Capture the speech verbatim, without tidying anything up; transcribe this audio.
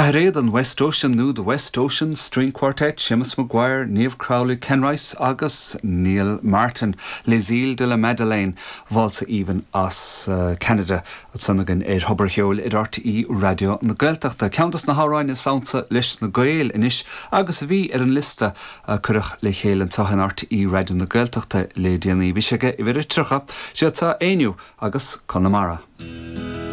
Ceathairéad an West Ocean nó the West Ocean String Quartet, Seamus Maguire, Niamh Crowley, Ken Rice agus Neil Martin, Les Îles de la Madeleine, válsa aoibhinn as uh, Canada ansan againn ar Thobar an Cheoil ar R T É Raidió na Gaeltachta. Ceann des na hamhráin is ansa leis na Gaeil anois agus a bhí ar an liosta uh, cuireadh le chéile anseo in R T É Raidió na Gaeltachta le déanaí bhí sé uimhir a tríocha sé tá éú agus Conamara.